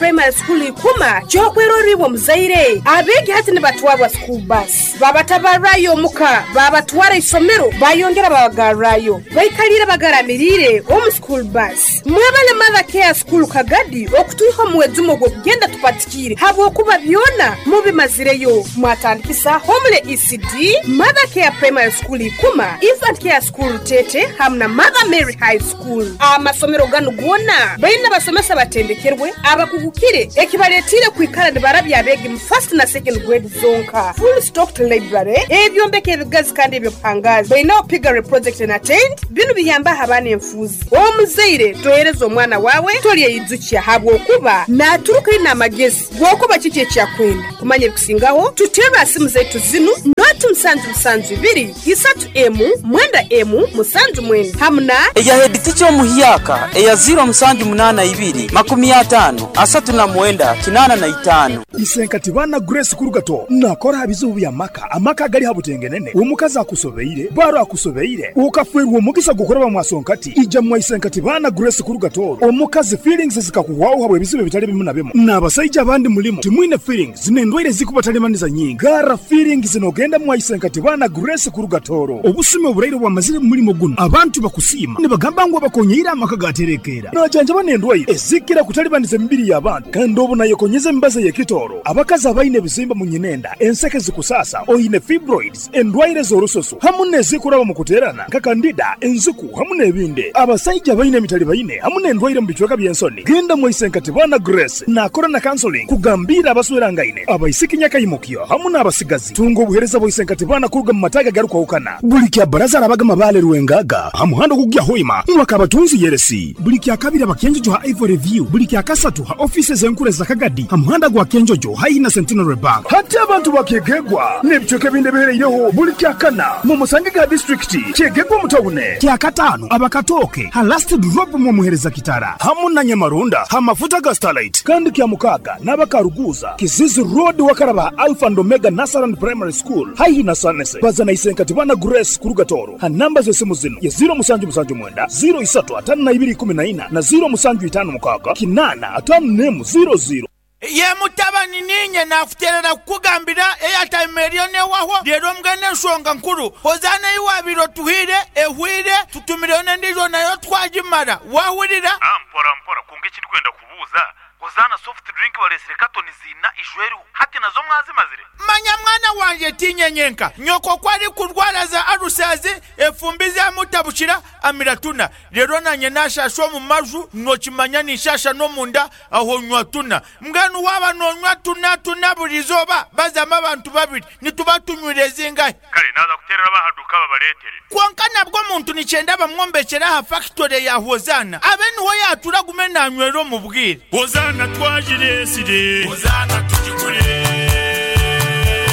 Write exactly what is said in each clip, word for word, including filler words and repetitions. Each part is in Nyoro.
Primary School Ikuma kyokweroribwa muzaire. Abeegi hati nibatwarwa school bus, babatabarayo omuka, babatwara isomero, bayongera babagarrayo, baikalire bagaramirire omu school bus. Mwebale Mother Care School Kagadi okutwiha omuwezumo gw'okugenda tupatikire habwokuba byona mubimazireyo. Mwatandikisa Homele E C D, Mother Care Primary School Ikuma, Infant Care School Tete hamwe na Mother Mary High School. Amasomero ganu gona baina basomesa batendekerwe abakugukire ekibaletire kwikara nibarabya abegi mu first na second grade zonka. Full stocked library, ebyombeko ebigazi kandi ebyobuhangazi. Baina piggery project and attend binu biyamba abaana enfuzi. Omuzaire tohereza omwana wawe tolyeyidzukya habwokuba naturuka ina amagezi gwokuba kiki ekyakwenda. Kumanya ebikusingaho tutera simu zetu zinu noti musanju musanju ibiri isatu emu mwenda emu musanju mwenda hamuna eya head teacher omuhyaka eya zero musanju munana ibiri makumi atano asatu na mwenda kinana na itano. Isenkati bana Grace Kurugato nakora bizubu bya maka amaka gali habutengenene omukazi akusobeire baro akusobeire ukafwerwa omugisa gukora mwasonkati ija mwa Isenkati bana Grace Kurugato omukazi feelings zikakuwaho habwe bizubu bitali bimu na bimu n'abasajja abandi mulimo timwine feelings zinendwaire zikubatalemaniza nyingi gara feelings zinogenda mwa Isenkati bana Grace Kurugatoro obusime oburaire bwamazire mulimo guno abantu bakusima nibagamba ngo bakonyeira amaka gaterekera najanja banendwaire ezikira kutalibaniza emibiri y'abantu kandi obu nayekonyeza embaza yekitoro abakazi abaine ebizimba mu nyinenda enseke zikusasa oine fibroids endwaire z'orusoso hamu nezikuraba mu kuterana nka kandida enzuku hamu n'ebindi abasajja baine emitali baine hamu n'endwaire mu bicweka by'ensoni genda mu Isenkati bana Grace nakora na counseling kugambira abaswerangaine abaisiki nyakayimukyo hamu n'abasigazi tunga obuhereza bwa Isenkati bana kuruga mu mataga garukwahukana buli kya baraza arabaga mabale ruwengaga hamuhando kugya hoima mwaka abatunzi yeresi buli kya kabiri abakenjojo ha Ivory View buli kya kasatu ha offices enkure za Kagadi hamuhanda gwa Kenjojo haina Centenary Bank hati abantu bakegegwa n'ebicweka binde bihereireho buli kya kana mu musange ga district kyegegwa mutawune kya katano abakatoke ha last drop mu muhereza kitara hamu na Nyamarunda ha mafuta ga Starlight kandi kya mukaga n'abakaruguza Kizizi Road wakaraba Alpha and Omega Nasaran Primary School haihi na Sanese bazana Isenkati bana Grace Kurugatoro ha namba z'esimu zino ya zero musanju musanju mwenda zero isatu atano na ibiri kumi na ina na zero musanju itano mukaga kinana atano nemu zero zero. Ye mutabani ninye nakuterera kukugambira airtime eriyo newaho rero mbwene ensonga nkuru hozana iwabiro tuhire ehwire tutumireyo n'endijo nayo twagimara wahurira. Ah, mpora mpora kunga ekindi kwenda kubuuza hozana soft drink balesire katoni zina ishweru hati nazo mwazimazire. Manya mwana wanje tinyenyenka nyoko kwari kurwara za arusazi efumbi zamutabukira amiratuna rero nanye nashasha mu maju nokimanya nishasha no munda aho nywa tuna mbwenu waba nonywa tuna tuna burizoba bazama abantu babiri nituba tunywire zingahe. Kale naza kuterera bahaduka babaletere konka nabwo muntu nicyenda bamwombekera ha factory ya Hozana abe niho yatura gume nanywero mu bwire. Hozana twajiresire Hozana tujigure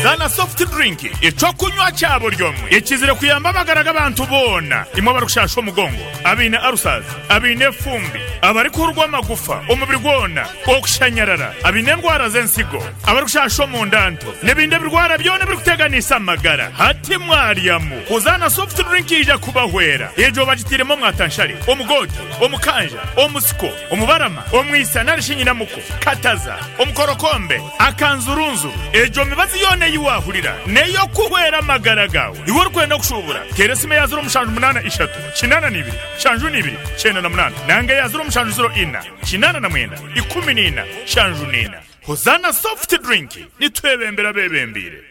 Zana soft drink ecokunywa cyabo ryomwe ekizire kuyamba amagara abantu bona imwe barukushasha omugongo abine arusaza abine fumbi abari kurwa amagufa omubiri gwona okushanyarara abine ndwara z'ensigo abari kushasha omundanto n'ebindi birwara byona birikuteganisa amagara hati mwaryamu Hozana soft drink ija kubahwera ejo bagitiremo mwatanshari omugoti omukanja omusiko omubarama omwisa narishinyinamuko kataza omukorokombe akanzurunzu ejo mibazi yone yiwahurira neyo kuhwera amagara gawe iwe urikwenda kushubura teresime ya zero mushanju munana ishatu kinana nibiri shanju nibiri chenda na munana nange ya zero mushanju zero ina kinana na mwenda ikumi nina shanju nina. Hozana soft drink nitwebembera bebembire.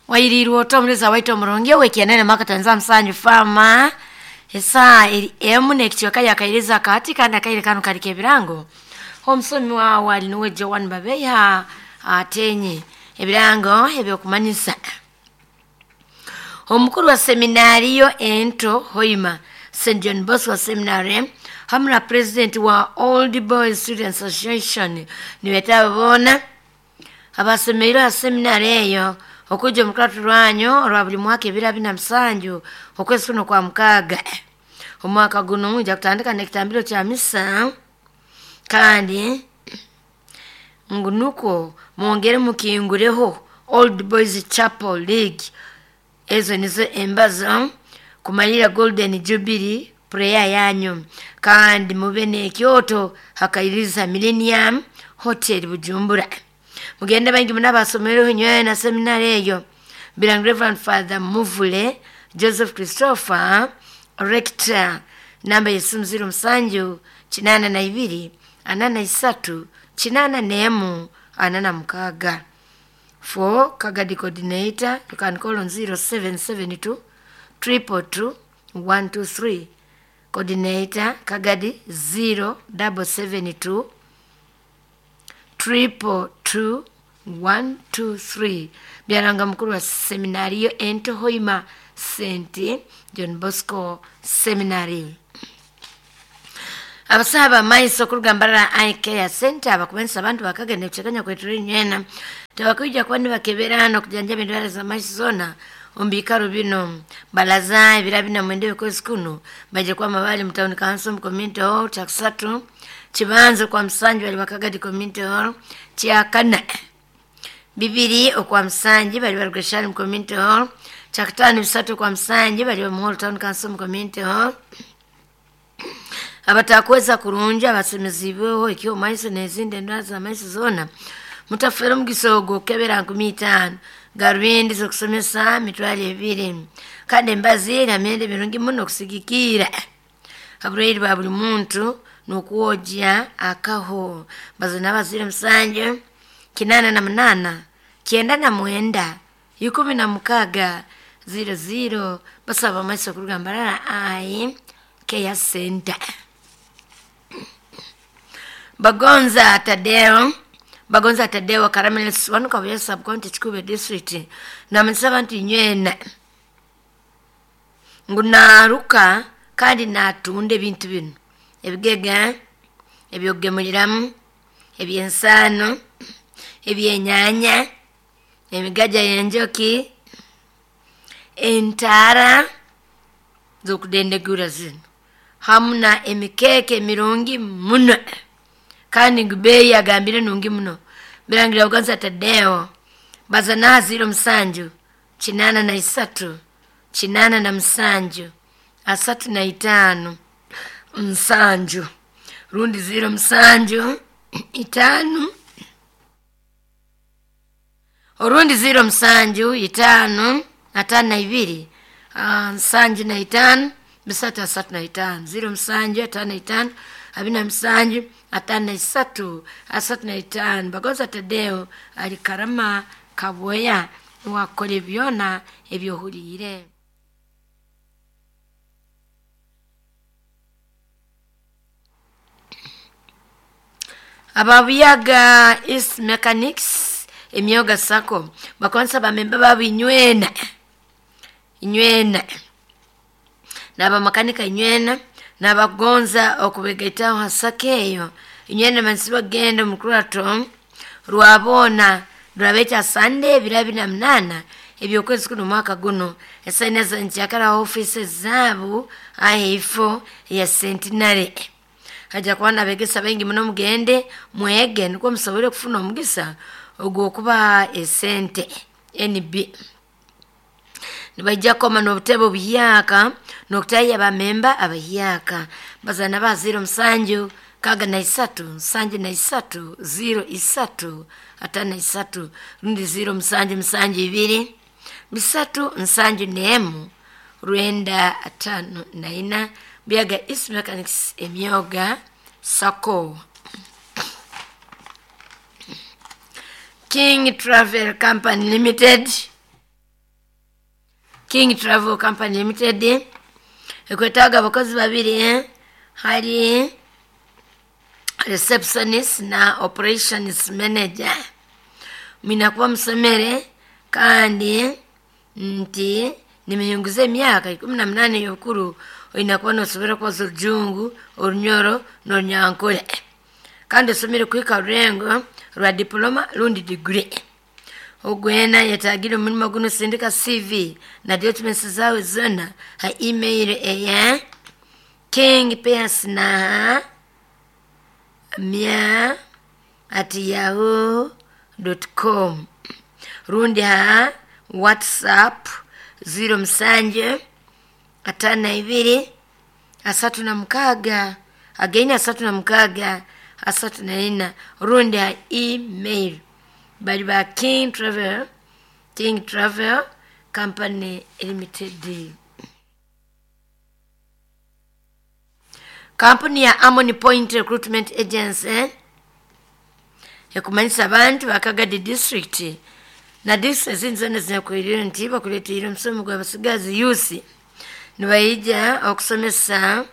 Wairirwo otomureza waito omurungi wekienene makatanza msanyu fama esa emu nekichoka yakairiza kati kandi akaire kanu kali kebirango omusomi wawe ali niwe Joan Babeya atenye ebirango ebyokumanyisa. Omukuru wa seminariyo ento Hoima Saint John Bosco Seminary hamwe na president wa Old Boys Students Association niweta bona abasemeiro ha seminari eyo okuja omukatu rwanyo olwa buli mwaka ebiro bina musanju okwezi kuno kwa mukaga. Omwaka guno nja kutandika n'ekitambiro kya misa kandi ngunuko mwongere mukingureho Old Boys Chapel League. Ezo nizo embazo kumalira Golden Jubilee Prayer yanyu kandi mube n'ekyoto hakairiza Millennium Hotel Bujumbura. Mugende bangi munabasomereho nyowe na seminari eyo. Bilang Reverend Father Muvule Joseph Christopher Rector, namba yesimu ziro musanju chinana na ibiri anana isatu chinana nemu anana mukaga. For Kagadi coordinator you can call on zero seven seven two triple two one two three. Coordinator Kagadi zero double seven two triple two one two three. Byaranga mukuru wa seminario ento Hoima Saint John Bosco Seminary. Abasaba maiso kurugambara Eye Care Center abakubensa abantu bakagenda kuchekanya kwetu nyena tabakuja kwani bakeberano kujanja endwara za maiso zona ombikaro bino balaza ebira bina mwende kwezi kuno baje kwa mabali mtown council community hall chakusatu chibanzo kwa msanju bali bakagadi community hall kyakana bibiri okwa msanji bali barugeshani community hall chakutano bisatu kwa msanji bali mu town council community hall. Abatakweza kurungi abasemezibweho ekyo maiso n'ezindi endwara za maiso zona mutafera omugisa ogwo okukebera nkumi itaano garubindi z'okusomesa mitwalo ebiri kandi embazi namyenda mirungi muno okusigikiira aburwaire bwa buli muntu n'okwogya akaho. Bazina bazire musanju kinana na munana kyenda na mwenda ikumi na mukaga ziro ziro basaba amaiso okurugambarara Eye Care Center. Bagonza Tadeo Bagonza Tadeo Karamelis wanu kabuya sub county Kikube district na msaba nti nywena ngunaruka kandi natunda ebintu bino ebigega ebyogemuliramu ebyensano ebyenyanya emigaja y'enjoki entara z'okudendegura zino hamuna emikeke emirungi muno kandi ngubeyi agambire nungi muno. Birangira Bagonza Tadeo bazana ziro musanju chinana na isatu chinana na musanju asatu na itano musanju rundi ziro musanju itano orundi ziro musanju itano atano na ibiri nsanju na itano bisatu asatu na itano ziro musanju atano na itano abina musanju atano na isatu asatu na itano. Bagonza Tadeo ali Karama Kaboya wakora byona ebyohuriire. Ababuyaga East Mechanics emyoga sako bakonsa bamemba babinywena inywena n'abamakanika inywena n'abagonza okubegaitaho hasaka eyo inywena mansi bagenda omukurato rwabona rwabekya Sunday ebiro bina munana ebyokwezi kuno mwaka guno esaina za nkyakara office zaabu aheifo ya Centenary. Haja kuba nabegesa baingi muno mugende mwege nukwo musobole kufuna omugisa ogw'okubaha esente N B. Nibaija koma n'obutebe obuhyaka n'okutahya abamemba abahyaka bazana ba ziro musanju kaga na isatu nsanju na isatu ziro isatu atano na isatu rundi ziro musanju musanju ibiri bisatu nsanju nemu rwenda atano na ina. Biaga East Mechanics emyoga sako. King Travel Company Limited King Travel Company Limited ekwetaaga abakozi babiri eh? Hari receptionist na operations manager. Minakuba musomere kandi nti nimiyunguza emyaka ikumi na munana ey'obukuru oyina kuba nosobora kubaza orujungu orunyoro n'orunyankole kandi osomere kuhika rurengo rwa diploma rundi degree. Ogwena yetagire omurimo guno sindika C V na documents zawe zona ha email eya kingpearsnaha mia at yahoo dot com rundi ha WhatsApp ziro musanju atano na ibiri asatu na mukaaga againi asatu na mukaaga asatu na ina rundi ha email bali ba King Travel King Travel Company Limited. Kampuni ya Amoni Point Recruitment Agency ekumanyisa abantu bakagadi district na district ezindi zona zinakwirire nti bakuleteire omusomo gw'abasigazi youth nibaija okusomesa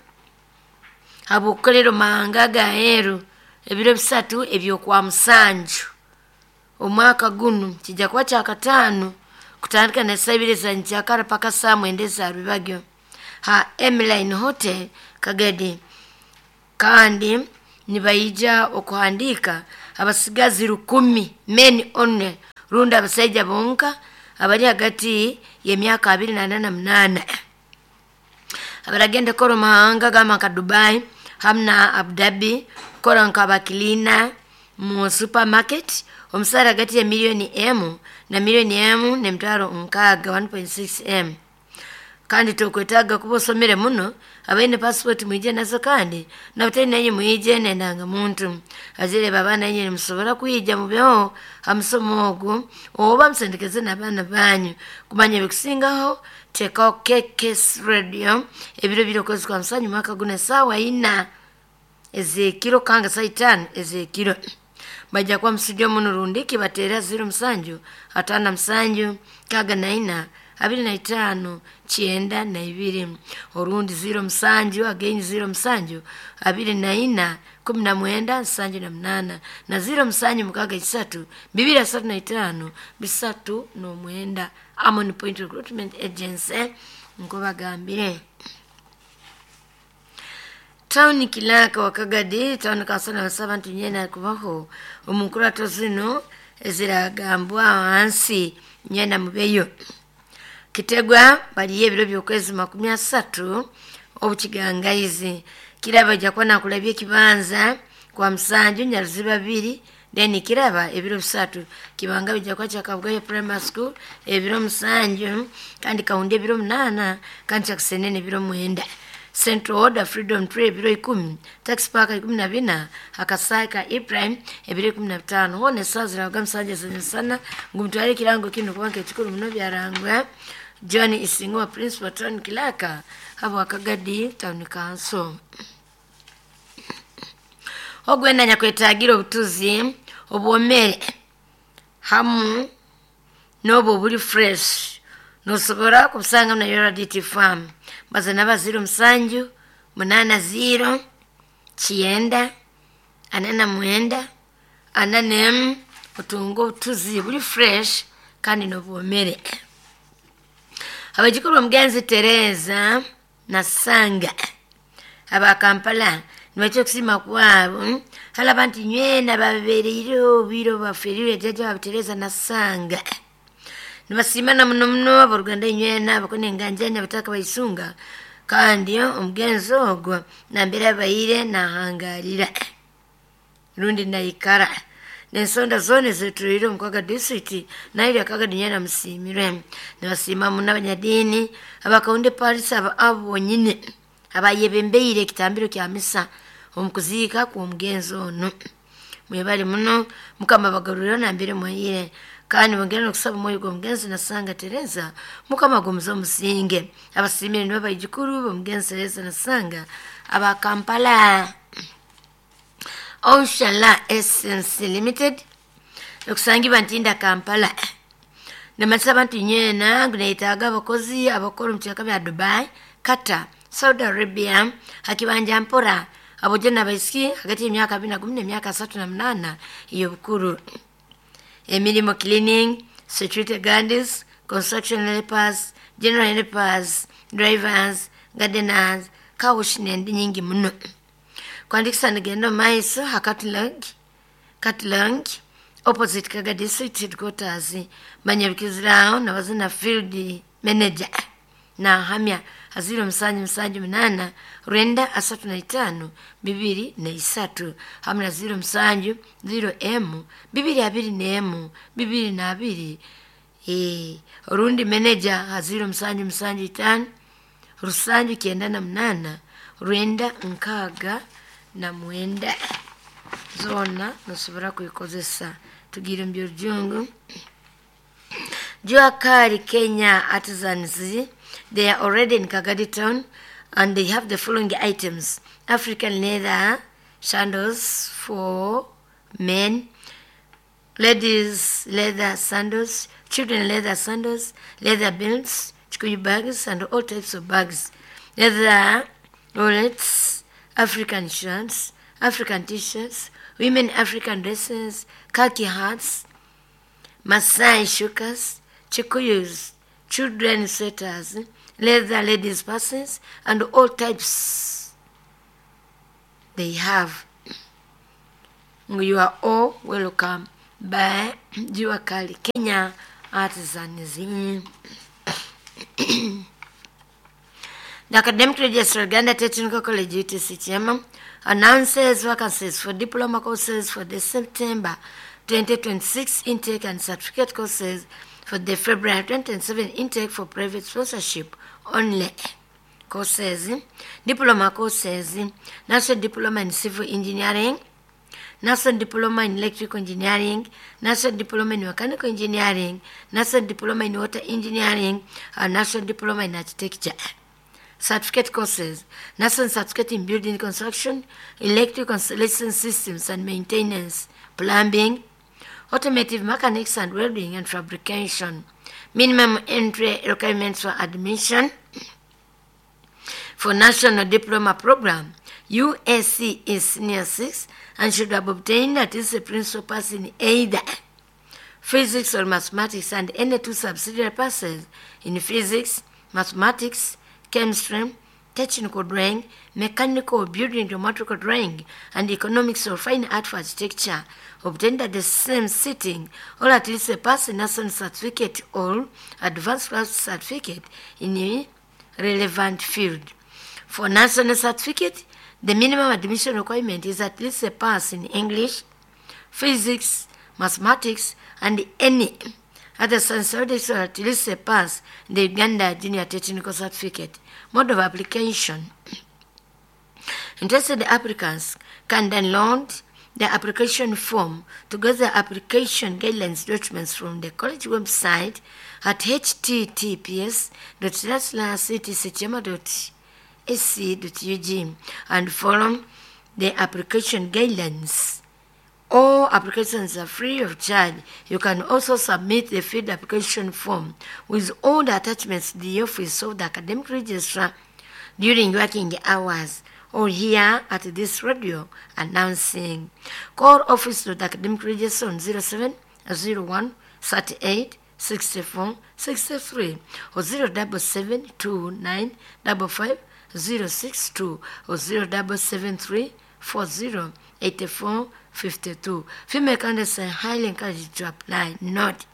abukolero mahanga gaheru ebiro bisatu ebyokwa musanju omwaka gunu kijja kuba kyakataano kutandika na saa ibiri za nkyakara paka saa mwenda eza rubagyo ha Emline Hotel Kagadi. Kandi nibaija okuhandika abasigazi rukumi men only rundi abasaija bonka abali hagati y'emyaka abiri na nana munana abaragenda kora mahanga gama nka Dubai hamna Abu Dhabi kora nka bakilina mu supermarket omusara hagati ya milioni emu na milioni emu n'emitwaro nkaaga one point six M. Kandi tokwetaaga kuba osomere muno abaine passport mwije nazo kandi nabatali naye mwije nendanga muntu azire baba naye nimusobora kwija mubyo hamusomo ogu oba musendekeze n'abaana banyu kumanya ebikusingaho tekaho K K S Radio ebiro biri okwezi kwa musanju mwaka guno esaawa ina ezekiro kanga saa itaano ezekiro bajja kuba mustudio muno rundiki bateera ziro musanju ataano musanju kaga na ina abiri na itaano kyenda na ibiri orundi ziro musanju again ziro musanju abiri na ina kumi na mwenda nsanju na munana na ziro musanju mukaga isatu bibiri asatu na itaano bisatu n'omwenda. Amon Point Recruitment Agency nko bagambire. Town Kilaka wakagadi town kansala basaba nti nyena kubaho omukurato zino eziragambwa wansi nyena mubeyo Kitegwa baliye ebiro by'okwezi makumi asatu obukigangaizi kiraba ojja kuba nakulabya ekibanza kwa musanju nyaruzi babiri then kiraba ebiro bisatu kibanga bijja kuba kyakabugaya primary school ebiro musanju kandi kaundi ebiro munana kandi kyakusenene ebiro mwenda Central Order Freedom Tree ebiro ikumi Tax Park ikumi na bina Akasaka Ibrahim ebiro ikumi na bitano hone sazira musanju sana ngumutwale kirango kino kubanga ekikulu muno byarangwa John Isingo Principal Town Kilaka habo akagadi Town Council. Ogwenda nyakwetagira obutuzi obwomere hamu n'obwo buli fresh nosobora kubusanga na Yoraditi Farm baza naba ziro musanju munana ziro kyenda anana mwenda anana otunga obutuzi buli fresh kandi n'obwomere. Abajukuru omugenzi Tereza Nasanga aba Kampala nibacha okusima kwabo halaba nti nywena babereire obwire baferire jjajja waabwe Tereza Nasanga nibasimana muno muno aboruganda nywena bakona enganjani abataka baisunga kandi omugenzi ogwo nambere abaire nahangarira rundi naikara nensonda zone zetuire omukaga district naire akaga nyana musimirwe nibasima muno abanyadini abakaunde Paris aba abo bonyine abayebembeire ekitambiro kya misa omukuziika kw'omugenzi ono mwebali muno mukama bagarurira nambere mwayire kandi bongera n'okusaba omwoyo gw'omugenzi Nasanga Tereza mukama gumuze omusinge abasimire nibo baijukuru b'omugenzi Tereza Nasanga aba Kampala. Ocean Essence Limited okusangibwa Ntinda Kampala namasaba nti nyena guneetaaga abakozi abakora omu kyaka bya Dubai, Qatar, Saudi Arabia hakibanja mpora abojo n'abaisiki hagati y'emyaka abiri na gumu n'emyaka asatu na munana ey'obukuru. Emirimu cleaning, security guards, construction helpers, general helpers, drivers, gardeners, car wash n'endi nyingi muno. Kwandikisa nigenda omu maiso ha Catalog, Catalog opposite Kaga District Headquarters manyabikiziraho nabazina field manager na hamya aziro musanju musanju munana rwenda asatu na itaano bibiri na isatu hamwe na ziro musanju ziro emu bibiri abiri n'emu bibiri na abiri e, orundi manager aziro musanju musanju itaano rusanju kyenda na munana rwenda nkaaga na mwenda. Zoona nosobora kuikozesa. Tugire mu by'Orujungu. Jua Kali Kenya Artisans, they are already in Kagadi town and they have the following items: African leather sandals for men, ladies leather sandals, children leather sandals, leather belts, chikuyu bags and all types of bags, leather wallets, African shirts, African t-shirts, women African dresses, khaki hats, Masai shukas, chikuyus, children sweaters, leather ladies purses, and all types they have. You are all welcome by Jua Kali Kenya Artisans. The Academic Registrar, Uganda Technical College, U T C Kyema, announces vacancies for diploma courses for the September twenty twenty-six intake and certificate courses for the February twenty twenty-seven intake for private sponsorship only. Courses, diploma courses, National Diploma in Civil Engineering, National Diploma in Electrical Engineering, National Diploma in Mechanical Engineering, National Diploma in Water Engineering, and National Diploma in Architecture. Certificate courses, National Certificate in Building Construction, Electrical Installation Systems and Maintenance, Plumbing, Automotive Mechanics and Welding and Fabrication. Minimum entry requirements for admission for National Diploma Program, U S C is Senior six and should have obtained at least a principal pass in either physics or mathematics and any two subsidiary passes in physics, mathematics, chemistry, technical drawing, mechanical building, geometrical drawing, and economics or fine art for architecture, obtained at the same sitting, or at least a pass in national certificate or advanced class certificate in a relevant field. For national certificate, the minimum admission requirement is at least a pass in English, physics, mathematics, and any other science subjects, or at least a pass in the Uganda Junior Technical Certificate. Mode of application. Interested applicants can download the application form to get the application guidelines documents from the college website at h t t p s dot slash slash c t c kyema dot a c dot u g and follow the application guidelines. All applications are free of charge. You can also submit the filled application form with all the attachments to the office of the academic registrar during working hours or here at this radio announcing. Call office of the academic registrar on zero seven zero one thirty-eight sixty-four sixty-three or zero double seven two nine double five zero six two or zero double seven three four zero eighty-four fifty-two. Female candidates are highly encouraged to apply. Note,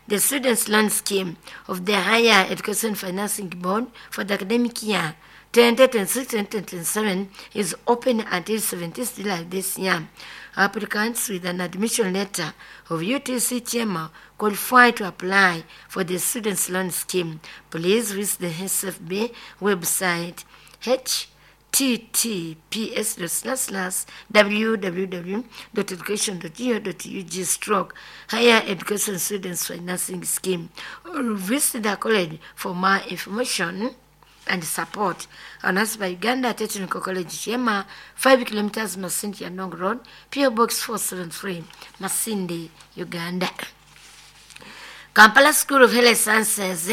the Students' Loan Scheme of the Higher Education Financing Board for the academic year twenty twenty-six twenty twenty-seven is open until seventeenth July this year. Applicants with an admission letter of U T C Kyema qualify to apply for the Students' Loan Scheme. Please visit the S F B website h t t p s dot slash slash w w w dot education dot g o dot u g stroke Higher Education Students Financing Scheme or visit the college for more information and support. Announced by Uganda Technical College Kyema, five kilometers Masindi Yanong Road, P O Box four seven three, Masindi, Uganda. Kampala School of Health Sciences,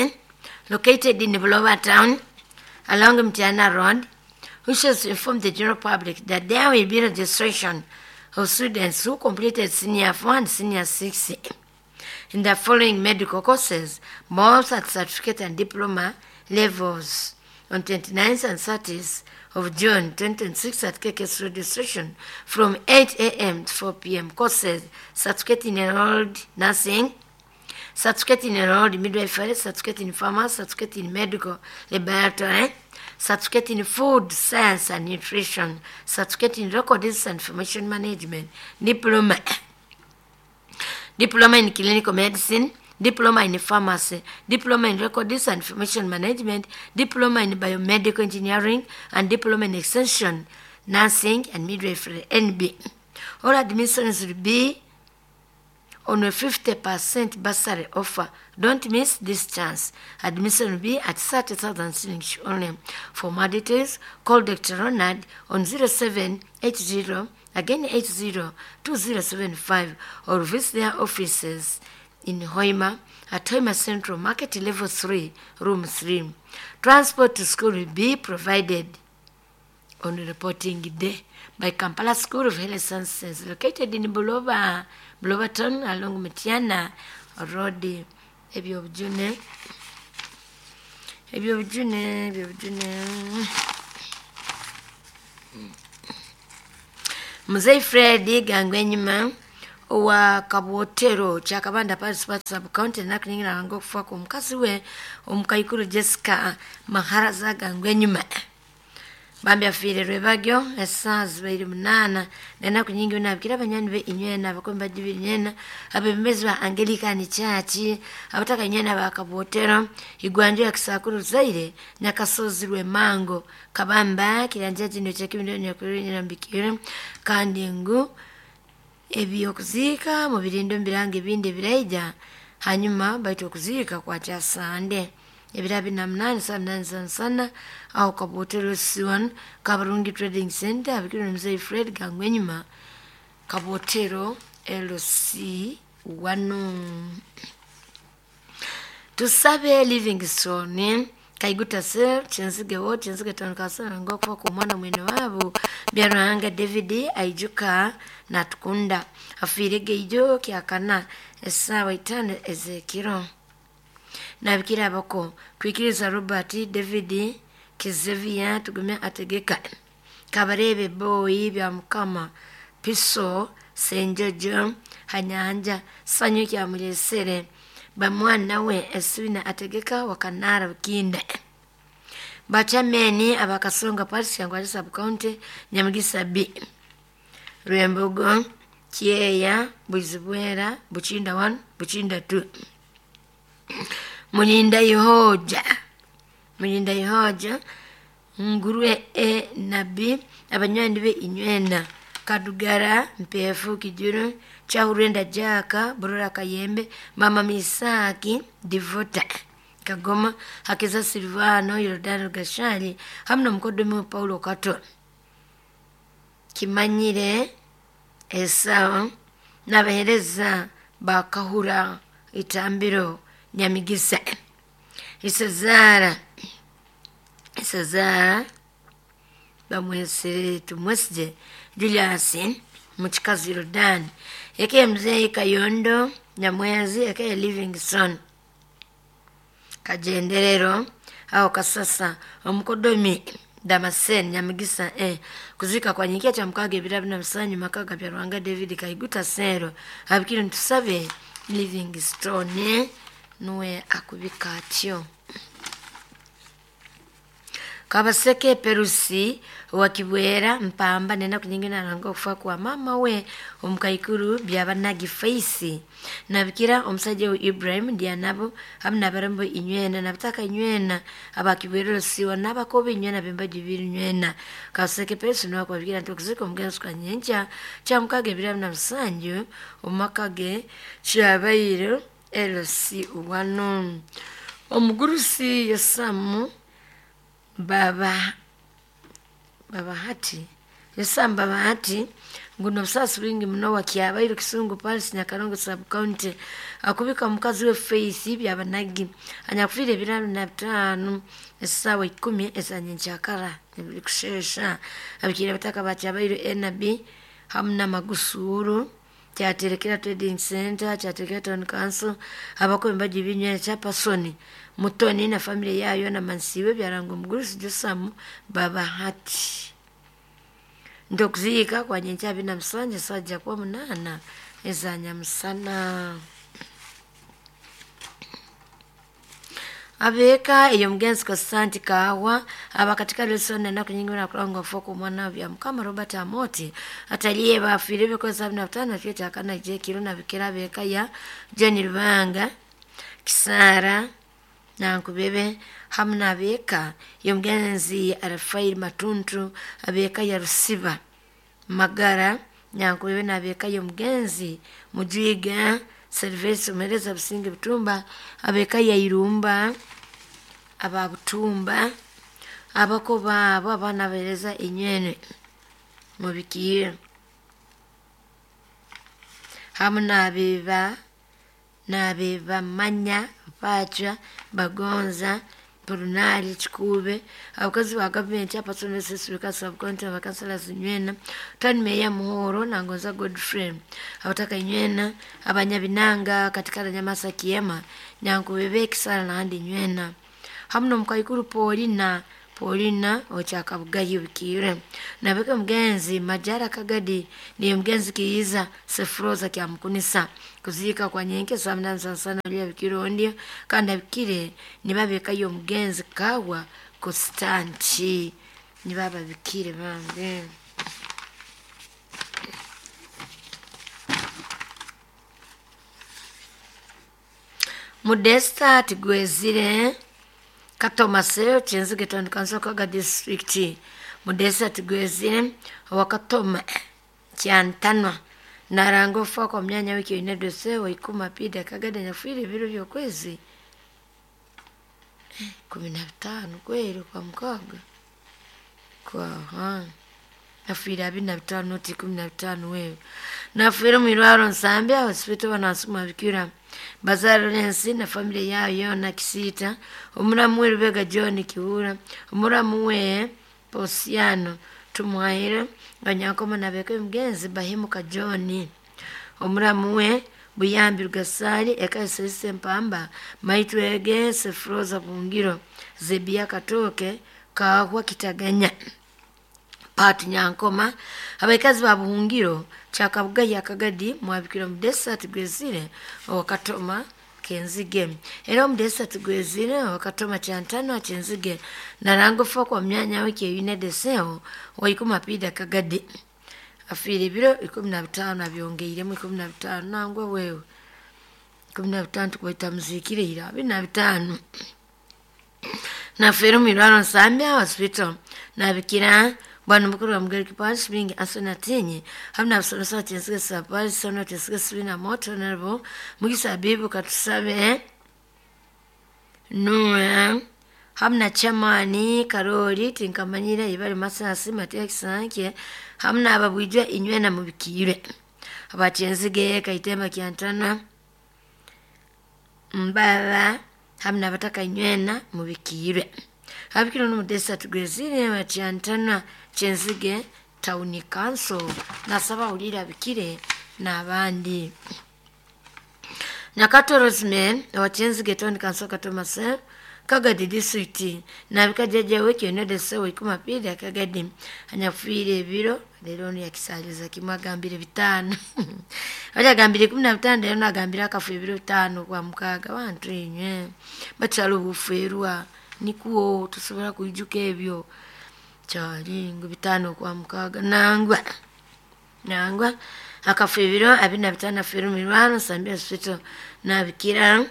located in Buloba Town, along Mtiana Road, wishes to inform the general public that there will be registration of students who completed Senior four and Senior six in the following medical courses, both at certificate and diploma levels, on twenty-ninth and thirtieth of June twenty twenty-six at K K S registration from eight a m to four p m. Courses: certificate in enrolled nursing, certificate in enrolled midwifery, certificate in pharmacy, certificate in medical laboratory, certificate in food science and nutrition, certificate in records and information management, diploma, diploma in clinical medicine, Diploma in Pharmacy, Diploma in Records and Information Management, Diploma in Biomedical Engineering, and Diploma in Extension, Nursing and Midwifery, N B. All admissions will be on a fifty percent bursary offer. Don't miss this chance. Admission will be at thirty thousand shillings only. For more details, call Doctor Ronald on zero seven eight zero, again eight zero, two zero seven five, or visit their offices in Hoima at Hoima Central Market Level three, Room three. Transport to school will be provided on reporting day by Kampala School of Health Sciences, located in Buloba, Buloba Town along Mitiana Road. Ebyobujune, ebyobujune, ebyobujune. Mzee Fred Gangwenyima owa Kabwotero Kyakabanda Parish Sub County nakuningira ngo kufa ku mukazi we omukaikuru Jessica Maharaza Gangwenyima. Bambi afiire rwebagyo esaa zibaire munana nenaku nyingi nabikira abanyani be inywena abakombe bagibiri nywena abebembezi ba Anglican Church abataka inywena ba Kabwotero igwanjo ya Kisakuru Zaire Nyakasozi Rwemango Kabamba kiranja kino kyekibindi nyakurira mbikire kandi ngu ebyokuziika mu birindo mbiranga ebindi ebiraija hanyuma baitu okuziika kwa kyasande ebira bina munani saa munani sana sana aho Kabwotero C one Kabarungi Trading Center abikiro Mzee Fred Gangwenyima Kabwotero L C one. Tusabe Livingstone Kaiguta Sir Chenzige wo Chenzige town kasana ngo kwa mwana mwene wabo Byaruhanga David aijuka na tukunda afirege ijo kyakana esawa itano ezekiro. Nabikira abako kwikiriza Robert David Kizevia tugumya ategeka Kabarebe boy bya mukama Piso Senjojo Hanyanja Sanyu kya mulesere bamwana we eswina ategeka wakanara bukinda bachameni abakasonga Parish Kyangwali Sub County Nyamugisa B Rwembogo Kyeya Buzibwera Buchinda one Buchinda two Mulinda Yehoja Mulinda Yehoja Ngurwe e Nabi abanywani be inywena Kadugara Mpefu Kijuru Chahurenda Jaka Burura Kayembe Mama Misaki Divota Kagoma Hakiza Silvano Yordano Gashali hamna mkodomi Paulo Kato Kimanyire Esau n'abahereza bakahura itambiro Nyamigisa Isazara Isazara bamwesere tumwesije Julius Muchikazi Jordan eke mzee Kayondo Nyamwezi eke Livingstone Kajenderero au Kasasa omukodomi Damascene Nyamigisa eh kuzika kwa nyikia cha mkage bila bina msanyu makaga bya Rwanga David Kaiguta Sero abikiri ntusabe Livingstone nuwe akubika atyo. Kabaseke Perusi wakibwera mpamba nena kunyingina nanga okufa kwa mama we omukaikuru byabanagi faisi nabikira omusajja we Ibrahim Dianabo hamna barambo inywena nabitaka inywena abakibwera siwa nabakobe inywena bembaji binywena. Kabaseke Perusi no kwabikira ntokuziko omugenzi kwa nyenja cha mukage biramu na musanju omakage kyabayiro L C one omugurusi Yosamu Baba Baba Hati Yosamu Baba Hati nguno busasi bwingi muno wakyabaire Kisungu Parish Nyakarongo Sub County akubika mukazi we Faith byabanagi anyakufire ebirano na bitano esawa ikumi ezanyenkyakara ebiri kushesha abikira bataka bakyabaire N B hamna magusuru kyaterekera Trading Center kyaterekera Town Council abakombe bagibinywe cha Pasoni Mutoni na family yayo na mansiwe byarangwa omugurusi Josamu Baba Hati ndokuzika kwa nyencha bina msanje sajja kwa munana ezanya musana abeka iyo mgenzi Konstanti Kawa abakatika lesson na kunyingina kulanga foko mwana bya mukama Robert Amoti ataliye bafire biko sabini na tano kyeta kana je kiro na bikira beka ya Jenny Rubanga Kisara Nankubebe hamu n'abeeka y'omugenzi Rafael Matuntu, abeeka ya Rusiba Magara Nyankubebe n'abeeka y'omugenzi Mujwiga Serivesi Omuheereza Businge Butumba, abeeka ya Irumba aba Butumba, abako baabo abaana abaheereza enywene mubikiire hamu n'abeeba n'abebamanya Pacha Bagonza Purunali Chikube, abakozi ba gavumenti abasomesa sibika subcounty abakansala zinywena tani meya Muhoro Nangonza Godfrey abataka inywena abanyabinanga katika Nyamasa Kiema Nyankubebe Kisara nahandi nywena hamu n'omukaikuru Paulina Paulina okyakabugayi bikire nabeka mugenzi Majara Kagadi ni mugenzi Kiiza Sefroza kyamukunisa kuziika kwa nyenke saa sana lya bikirondia kandi abikire nibabekayo omugenzi Kawa Constanti nibaba bikire bambe. Modesta Tigwezire Katoma seo Kyenzige Town Council Kaga District. Modesta Tigwezire wakatoma kyantanwa naranga ofa kwa myanya wiki inedose waikuma pida Kagada nyafwire ebiro by'okwezi kumi na bitano kweri kwa mukaga kwa ha nafiire abiri na bitano noti kumi na bitano wewe nafiire mwirwaro Nsambya hospital banasuma bikira Bazar Lawrence na family yao yona Kisita, omuramu we Rubega John Kihura, omuramu we Posiano Tumwaire Banyankoma nabeka mugenzi Bahimuka John, omuramu we Buyambi Rugasari eka Mpamba Maitwege Sefroza Bungiro Zebia Katoke Kahwa Kitaganya Patu Nyankoma abaikazi ba Buhungiro Kyakabugayi Akagadi mwabikira Mudesa Tigwezire wakatoma Kenzige era Omudesa Tigwezire wakatoma Kyantano Kyenzige narango fo kwa myanya wiki yunedeseo waikuma pida Kagadi afiire ebiro ikumi na bitano abyongeiremu ikumi na bitano nangwa wewe ikumi na bitano tukweta muzikire ira abiri na bitano nafeera omwirwaro Nsambya hospital nabikira bwana mukuru wa Mugari Kipashi bingi asona tinyi hamna abasomesa Kyenzige sapari sono Kyenzige sibina moto nabo mugisa bibu katusabe nuwe hamna chamani Karoli tinkamanyira ibali masasi Matia Kisanke hamna ababwijwa inywena mubikire abakyenzige Kaitemba Kyantana Mbaba hamna abataka inywena mubikire abikiro n'Omudesa Tugwezire bakyantana Kyenzige Town Council nasaba ulira bikire n'abandi. Nyakato Rosemary wa Kyenzige Town Council Katomase Kagadi District nabika jjajja we kyonedese waikuma pili Akagadi anyafiire ebiro leero ono yakisaliza kimu agambire bitaano oli agambire kumi na bitaano leero nagambire akafu ebiro bitaano kwa mukaaga bantu enywe bakyala obuferwa nikuwo tusobola kuijuka ebyo kyali ngu bitaano kwa mukaaga nangwa nangwa akafu ebiro abiri na bitaano afiire omu Nsambya Hospital nabikira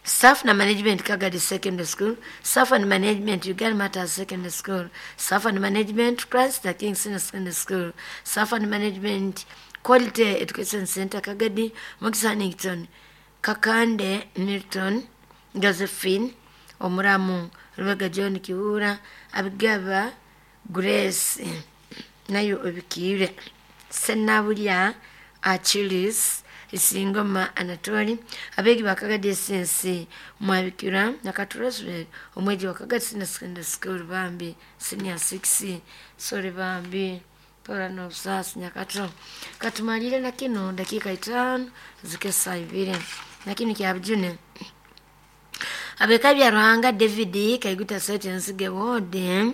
Staff na Management Kagadi Secondary School, Staff and Management Uganda Matters Secondary School, Staff and Management Christ the King Senior Secondary School, Staff and Management Quality Education Center Kagadi, Mukisa Hannington, Kakande Milton, Josephine, Omuramu, Rubega John Kihura, Abigaba Grace, nayo obikire, Senabulya Achilles, Isingoma Anatoli, abegi ba Kagadi S S mwabikira Nakatuleswe omweji wa Kagadi Senior Secondary School bambi senior six sorry bambi pora no sas Nyakato katumalire na kino dakika itano zikesa ibiri na kino kya bujune abeka bya Ruhanga David Kaiguta Sete Nsige wode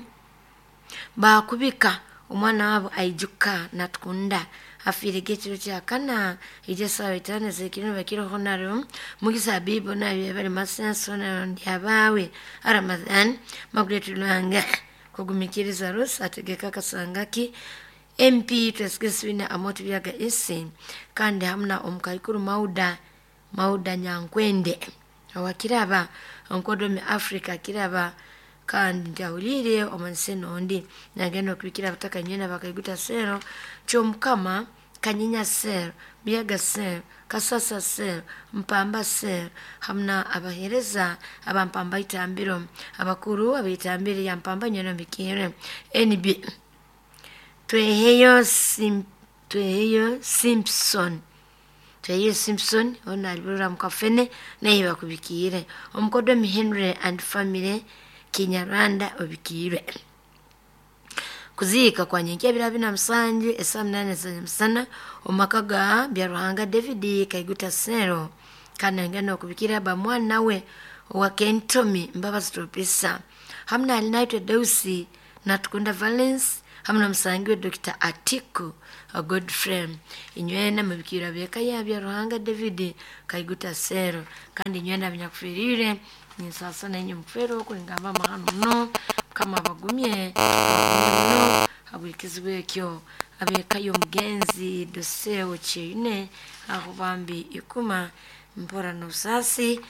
bakubika omwana wabo aijuka natukunda afiire ekiro kyakana ekyesaawa itaano ez'ekiro bakiro honaro mugisa bibo nabyo bali masenso ndi abaawe Ramadhan Margaret Lwanga kugumikiriza Rusi ategeka Kasangaki M P Twesigesibina Amoto Byaga esi kandi hamuna omukaikuru Mauda Mauda Nyankwende Owakiraba onkodomi Africa kiraba kandi ntahulire omunsi nondi nagenda okubikira abataka nywena bakaiguta sero kyomukama Kanyinya sero, Biaga sero, Kasasa sero, Mpamba sero, hamna abahereza abampamba itambiro, abakuru abaitambire ya Mpamba nywena bikire N B Tweheyo Sim, Tweheyo Simpson Tweheyo Simpson ona alibura mukafene naye bakubikire omukodomi Henry and family Kinyarwanda obikire. Kuziika kwa nyenkya bira bina musanju esaa munane za musana omumaka ga Byaruhanga David Kaiguta Sero kandi ngenda okubikira bamwana we owa Kentomi Mbabazi Topisa hamna alinaitwe Deusi Natukunda Valence hamna musangi we Doctor Atiku a good friend inywena mubikira byeka ya Byaruhanga David Kaiguta Sero kandi inywena binyakufirire ninsasa nenye mufero kulingamba mahano muno kama abagumye abagumye muno habw'ikizibu ekyo abekayo omugenzi Doseo Kyeyune aho bambi ikuma mpora n'obusasi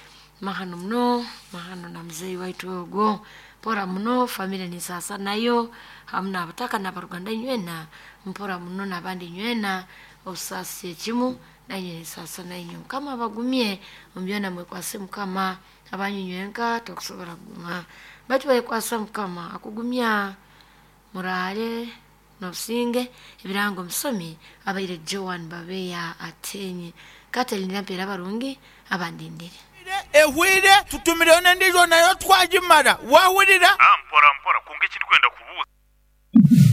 mahano muno mahano na muzeyi waitu ogwo mpora muno family nisasa nayo hamu n'abataka n'abaruganda nywena mpora muno n'abandi nywena obusasi ekimu nanye nisasa nainywe Mukama abagumye omubyona mwekwase Mukama abanyu nywenka tokusobola kuguma batu bayekwasa Mukama akugumya murale nobusinge ebirango omusomi abaire Joan Babeya atenye Katelina mpera abarungi abandindire ehwire tutumireyo n'endiijo nayo twagimara wahurira mpora mpora kunga ekirikwenda kubuuza.